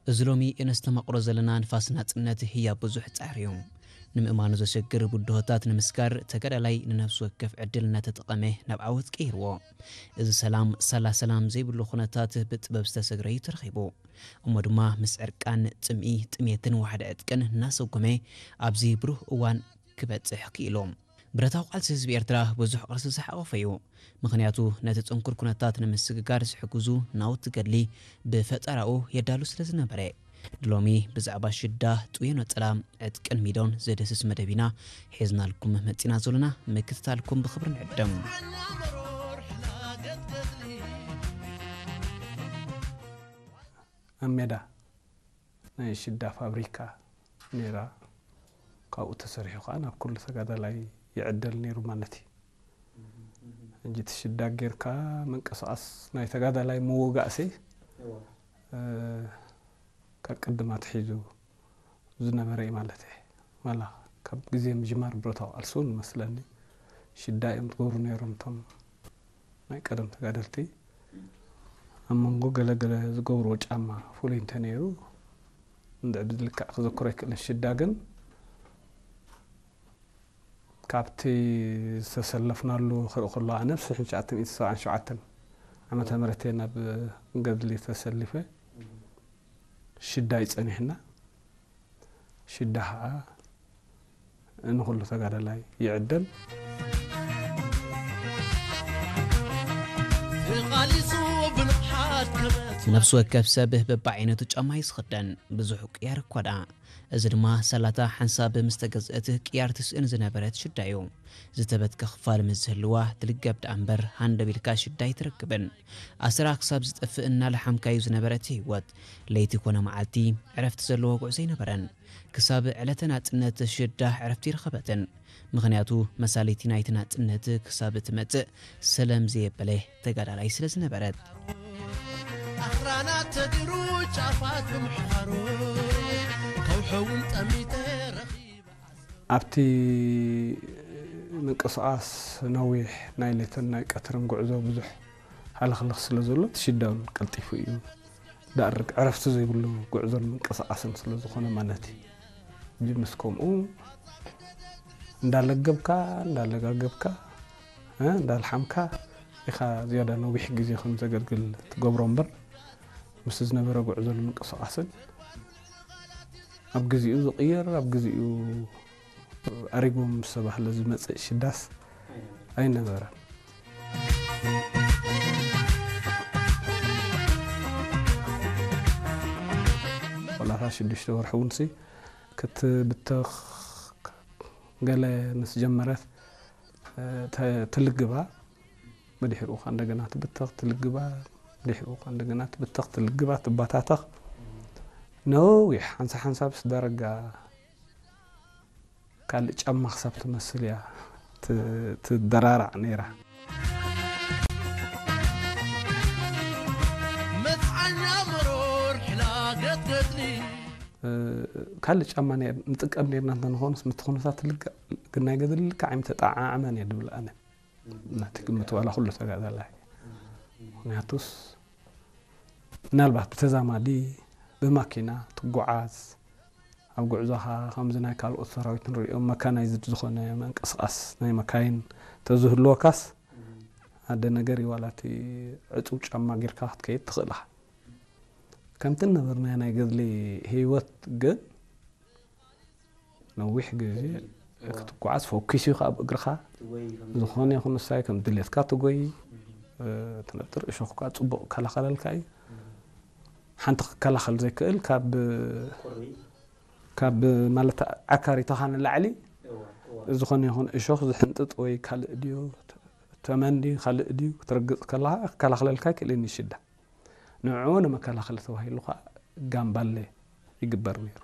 እዚ ሎሚ እነስተማቕሮ ዘለና ንፋስ ናጽነት ህያብ ብዙሕ ጻዕሪ እዩ። ንምእማኑ ዘሸግር ብድሆታት ንምስጋር ተጋዳላይ ንነፍሲ ወከፍ ዕድል እናተጠቐመ ናብ ዓወት ቀይርዎ። እዚ ሰላም ሳላ ሰላም ዘይብሉ ኩነታት ብጥበብ ዝተሰግረ እዩ ተረኺቡ። እሞ ድማ ምስ ዕርቃን፣ ጽምኢ፣ ጥሜትን ዋሕዲ ዕጥቅን እናሰጎመ ኣብዚ ብሩህ እዋን ክበጽሕ ክኢሉ። ብረታዊ ቃልሲ ህዝቢ ኤርትራ ብዙሕ ቅርሲ ዝሓቖፈ እዩ። ምኽንያቱ ነቲ ጽንኩር ኩነታት ንምስግጋር ዝሕግዙ ናውቲ ገድሊ ብፈጠራኡ የዳሉ ስለ ዝነበረ። ሎሚ ብዛዕባ ሽዳ፣ ጥውዮ ነጸላ፣ ዕጥቅን ሚዶን ዘደስስ መደብ ኢና ሒዝናልኩም መጺና ዘሎና። ምክትታልኩም ብኽብሪ ንዕድም። ኣብ ሜዳ ናይ ሽዳ ፋብሪካ ነይራ። ካብኡ ተሰሪሑ ከኣ ናብ ኩሉ ተጋዳላይ ይዕደል ነይሩ ማለት እዩ። ሕጂ እቲ ሽዳ ጌርካ ምንቅስቓስ ናይ ተጋዳላይ ምውጋእሲ፣ እ፣ ካብ ቅድም ኣትሒዙ ዝነበረ እዩ ማለት እየ። ዋላ ካብ ግዜ ምጅማር ብረታዊ ቃልሲ እውን መስለኒ ሽዳ እዮም ዝገብሩ ነይሮም እቶም ናይ ቀደም ተጋደልቲ። ኣብ መንጎ ገለ ገለ ዝገብርዎ ጫማ ፍሉይ እንተነይሩ፣ እንድዒ ብዝልክዕ ክዘክሮ ኣይክእልን። ሽዳ ግን ካብቲ ዝተሰለፍናሉ ክርኢ ከሎ፣ ኣነ ብ ሽሕን ትሽዓተ ሚእትን ሰብዓን ሸውዓተን ዓመተ ምህረት እየ ናብ ገድሊ ተሰሊፈ። ሽዳ እዩ ጸኒሕና። ሽዳ ኸዓ ንኹሉ ተጋዳላይ ይዕደል። ተቓሊሱ ብንቕሓት ክበት ነፍሲ ወከፍ ሰብ በብዓይነቱ ጫማ እዩ ዝኽደን፣ ብዙሕ ቅያር እኳ ደኣ። እዚ ድማ ሳላታ ሓንሳብ ምስ ተገዝአት ቅያር ትስእን ዝነበረት ሽዳ እዩ። ዝተበትከ ክፋል ምስ ዝህልዋ ትልገብ ደኣ እምበር ሃንደብ ኢልካ ሽዳ ኣይትረክብን። ኣስራ ክሳብ ዝጠፍእ እናለሓምካዩ ዝነበረ እቲ ህይወት፣ ለይቲ ኮነ መዓልቲ ዕረፍቲ ዘለዎ ጉዕዞ ኣይነበረን። ክሳብ ዕለተ ናጽነት ሽዳ ዕረፍቲ ኣይረኸበትን። ምኽንያቱ መሳለይቲ ናይቲ ናጽነት ክሳብ እትመጽእ ሰለም ዘየበለ ተጋዳላይ ስለ ዝነበረት። ኣኽራናት ተዲሩ ጫፋት ብምሕኻሩ ከውሒ እውን ጠሚተ ረኺበ። ኣብቲ ምንቅስቓስ ነዊሕ ናይ ሌትን ናይ ቀትርን ጉዕዞ ብዙሕ ሃለኽለኽ ስለ ዘሎ፣ እቲ ሽዳ እውን ቀልጢፉ እዩ ዳርግ ዕረፍቲ ዘይብሉ ጉዕዞን ምንቅስቓስን ስለ ዝኾነ ማለት እዩ። ሕጂ ምስ ከምኡ እንዳለገብካ፣ እንዳለጋገብካ፣ እ፣ እንዳልሓምካ ኢኻ ዝያዳ ነዊሕ ግዜ ከም ዘገልግል ትገብሮ እምበር፣ ምስ ዝነበረ ጉዕዞን ምንቅስቓስን ኣብ ግዚኡ ዝቕየር፣ ኣብ ግዚኡ ኣሪጉ ምስ ተባህለ ዝመጽእ ሽዳስ ኣይነበረን። ቆላታ ሽዱሽተ ወርሒ እውን ሲ ክትብተኽ ገለ ምስ ጀመረት፣ ተ-፣ ትልግባ፣ ብድሕሪኡ ኸኣ እንደገና ትብተኽ፣ ትልግባ፣ ብድሕሪኡ ኸኣ እንደገና ትብተኽ፣ ትልግባ፣ ትባታተኽ። ነዊሕ ሓንሳ ሓንሳብስ ዳርጋ ካልእ ጫማ ክሳብ ትመስል እያ ት-፣ ትደራራዕ ነይራ። መጽዓኛ መሮር ሕላገት ገድሊ። እ፣ ካልእ ጫማ ነይር-፣ ንጥቀም ነይርና እንተንኾንስ፣ ምቲ ኩነታት ልክዕ፣ ግን ናይ ገድሊ ልክዕ ኣይምተጠዓዓመን እየ ድብል ኣነ። ናቲ ግምት ዋላ ኩሉ ተጋዳላይ። ምኽንያቱስ፣ ምናልባት ብተዛማዲ ብማኪና ትጓዓዝ፣ ኣብ ጉዕዞኻ ከምዚ ናይ ካልኦት ሰራዊት ንሪኦም መካናይዝድ ዝኾነ ምንቅስቓስ ናይ መካይን ተዝህልወካስ፣ ሓደ ነገር እዩ፣ ዋላ እቲ ዕጹው ጫማ ጌርካ ክትከይድ ትኽእል ኢኻ። ከምቲ እነበርናዮ ናይ ገድሊ ህይወት ግን፣ ነዊሕ ግዜ ክትጓዓዝ ፈኲስ እዩ ኣብ እግርኻ። ዝኾነ ይኹን ንሳይ ከም ድሌትካ ትጎይ፣ እ፣ ትነጥር እሾኽ እኳ ጽቡቕ ይከላኸለልካ እዩ። ሓንቲ ክከላኸል ዘይክእል ካብ፣ ካብ ማለት ዓካሪትኻ ንላዕሊ ዝኾነ ይኹን እሾኽ ዝሕንጥጥ ወይ ካልእ ድዩ፣ ተመን ድዩ፣ ካልእ ድዩ ክትረግጽ ከለኻ ክከላኸለልካ ኣይክእልን እዩ ሽዳ። ንዕኡ ንመከላኸሊ ተባሂሉ ኸኣ ጋምባሌ ይግበር ነይሩ።